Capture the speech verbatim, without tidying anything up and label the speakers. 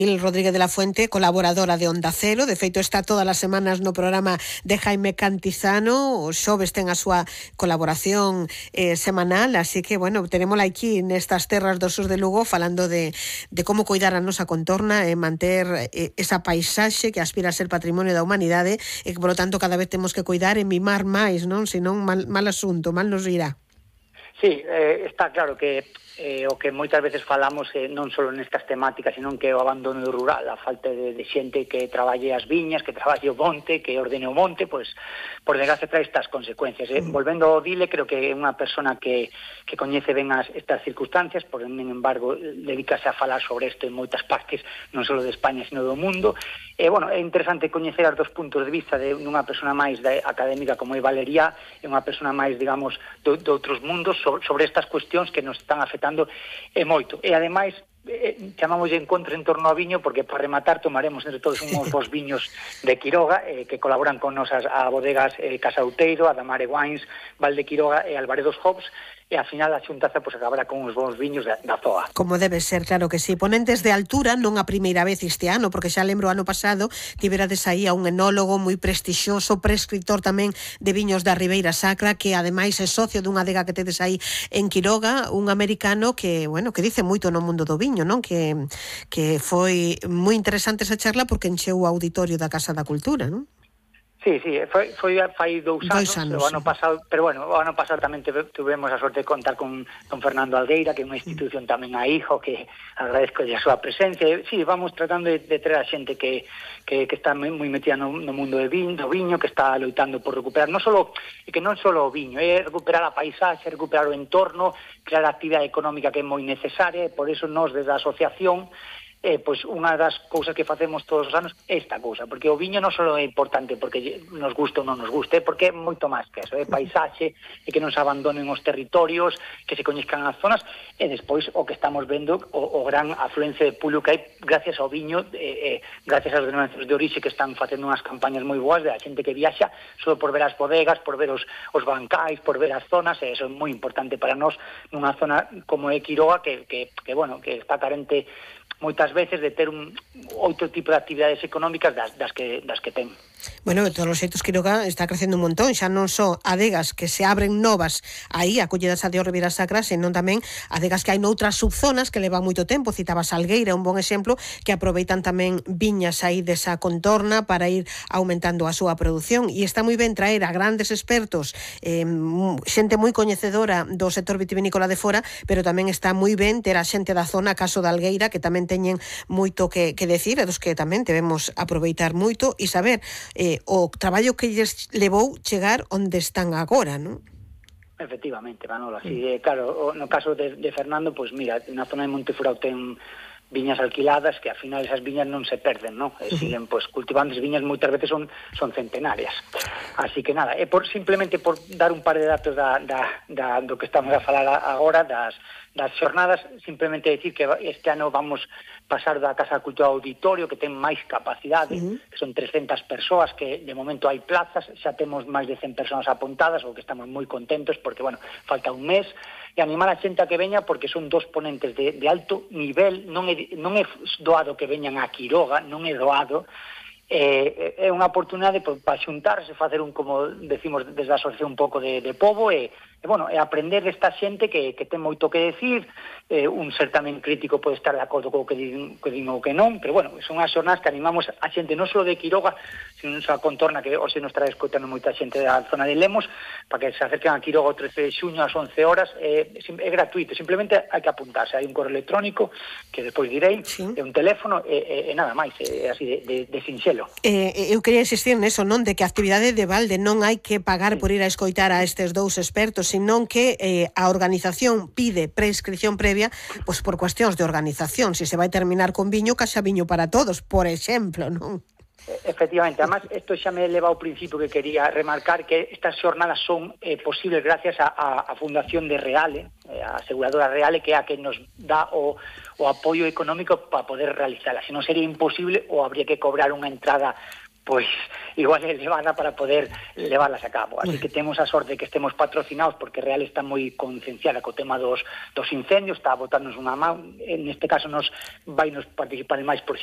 Speaker 1: Mil Rodríguez de la Fuente, colaboradora de Onda Cero, de feito está todas as semanas no programa de Jaime Cantizano, os xoves ten a súa colaboración eh, semanal, así que, bueno, tenémola aquí nestas terras do sur de Lugo falando de, de como cuidar a nosa contorna e manter eh, esa paisaxe que aspira a ser patrimonio da humanidade e que, por lo tanto, cada vez temos que cuidar e mimar máis, non? Senón mal, mal asunto, mal nos irá.
Speaker 2: Sí, eh, está claro que eh, o que moitas veces falamos eh, non só nestas temáticas, senón que o abandono rural, a falta de, de xente que traballe as viñas, que traballe o monte, que ordene o monte, pois, por desgracia trae estas consecuencias. Eh. Mm. Volvendo ao Dile, creo que é unha persona que, que coñece ben as, estas circunstancias, por en embargo, dedícase a falar sobre isto en moitas partes, non só de España, sino do mundo. E, bueno, é interesante coñecer os dos puntos de vista de unha persona máis de, académica como é Valeria, e unha persona máis, digamos, de, de outros mundos sobre, sobre estas cuestións que nos están afectando e moito. E, ademais, eh, chamamos de encontro en torno ao viño porque, para rematar, tomaremos entre todos uns bons viños de Quiroga eh, que colaboran con nosas a bodegas eh, Casauteiro, a Damare Wines, Valde Quiroga e Alvaredos Hops, e ao final a xuntaza pois, acabará con uns bons viños da, da zoa.
Speaker 1: Como debe ser, claro que sí. Ponentes de altura, non a primeira vez este ano, porque xa lembro ano pasado tiverades aí a un enólogo moi prestixioso, prescritor tamén de viños da Ribeira Sacra, que ademais é socio dunha adega que tedes aí en Quiroga, un americano que, bueno, que dice moito no mundo do viño, non? Que, que foi moi interesante esa charla porque encheu o auditorio da Casa da Cultura, non?
Speaker 2: Sí, sí, foi, foi fai dous anos,
Speaker 1: anos
Speaker 2: o ano
Speaker 1: sí.
Speaker 2: pasado, pero bueno, o ano pasado tamén tuvemos a sorte de contar con don Fernando Algueira, que é unha institución tamén a hijo, que agradezco a súa presencia. Sí, vamos tratando de, de traer a xente que, que, que está moi metida no, no mundo de viño, do viño, que está loitando por recuperar, non solo, que non solo o viño, é recuperar a paisaxe, recuperar o entorno, crear a actividade económica que é moi necesaria, e por eso nós desde a asociación Eh, pois unha das cousas que facemos todos os anos é esta cousa, porque o viño non só é importante porque nos gusta ou non nos guste, porque é moito máis que eso, é paisaxe, e que non se abandonen os territorios, que se coñezcan as zonas, e despois o que estamos vendo, o, o gran afluencia de público que hai gracias ao viño, eh, eh, gracias aos denominacións de orixe que están facendo unhas campañas moi boas de a xente que viaxa só por ver as bodegas, por ver os, os bancais, por ver as zonas, e eso é moi importante para nós nunha zona como é Quiroga, que, que, que bueno, que está carente moitas veces de ter un outro tipo de actividades económicas das, das, que, das que ten.
Speaker 1: Bueno, de todos os xeitos, Quiroga está crecendo un montón, xa non só adegas que se abren novas aí, acolledas a Dios Ribeira Sacra, senón tamén adegas que hai noutras subzonas que levan moito tempo, citabas Algueira, un bon exemplo, que aproveitan tamén viñas aí desa contorna para ir aumentando a súa produción, e está moi ben traer a grandes expertos, eh, xente moi coñecedora do sector vitivinícola de fora, pero tamén está moi ben ter a xente da zona, caso de Algueira, que tamén teñen moito que, que decir, e dos que tamén debemos aproveitar moito e saber Eh, o traballo que lles levou chegar onde están agora, non?
Speaker 2: Efectivamente, Manolo, así, eh, claro, no caso de, de Fernando, pois pues mira, na zona de Montefurao ten viñas alquiladas que ao final esas viñas non se perden, non? E siguen pois pues, cultivando as viñas, moitas veces son son centenarias. Así que nada, é por simplemente por dar un par de datos da, da, da do que estamos a falar agora das das xornadas, simplemente decir que este ano vamos pasar da Casa da Cultura ao auditorio, que ten máis capacidade, uh-huh. que son trescentas persoas, que de momento hai plazas, xa temos máis de cen persoas apuntadas, o que estamos moi contentos, porque, bueno, falta un mes, e animar a xente a que veña, porque son dos ponentes de, de alto nivel, non é, non é doado que veñan a Quiroga, non é doado, eh, é unha oportunidade para xuntarse, facer un, como decimos desde a asociación, un pouco de, de pobo, e E, bueno, é aprender desta xente que, que ten moito que decir, eh, un ser tamén crítico pode estar de acordo co que din, que din ou que non, pero, bueno, son as xornadas que animamos a xente non só de Quiroga, sino a contorna, que hoxe nos trae escoitando moita xente da zona de Lemos, para que se acerquen a Quiroga o trece de xuño ás once horas, é, é gratuito, simplemente hai que apuntarse, hai un correo electrónico, que despois direi, sí. É un teléfono, e, e nada máis, é así de, de, de sinxelo.
Speaker 1: Eh, eu quería insistir neso, non, de que a actividade de balde non hai que pagar sí. por ir a escoitar a estes dous expertos, senón que eh, a organización pide prescripción previa, pois por cuestións de organización, se se vai terminar con viño, caxa viño para todos, por exemplo, non?
Speaker 2: Efectivamente, además, isto xa me leva ao principio que quería remarcar, que estas xornadas son eh, posibles gracias a, a, a Fundación de Reale, eh, a aseguradora Reale, que é a que nos dá o, o apoio económico para poder realizarla. Se non sería imposible, ou habría que cobrar unha entrada pois igual é elevada para poder leválas a cabo. Así que temos a sorte que estemos patrocinados, porque Real está moi concienciada co tema dos, dos incendios, está a botarnos unha mão. En este caso nos vai nos participar en máis proxectos